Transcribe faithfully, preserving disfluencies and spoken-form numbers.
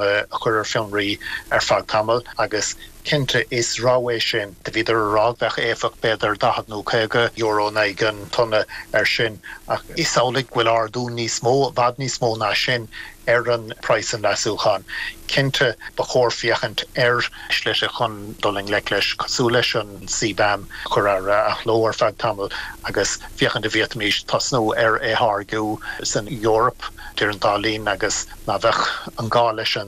a chur ar fionraí ar feadh tamaill agus cinnte is rogha é sin de bhíidir rá bheith éifeach b'fhéidir daichead nó caoga euro na an tonna ar sin ach is amhlaidh bhfuil ardú níos mó bhfad níos mó ná sin ar an price an leasúcháin. Cinnte ba chóir féachaint ar shlite chun dul i ngleic leis cosúil leis an C BAM chur ar athló ar feadh tamaill agus féachaint an bhféadfaimis tosnú ar é tháirgeadh san Eoraip idir an dá linn agus ná bheadh an gá leis an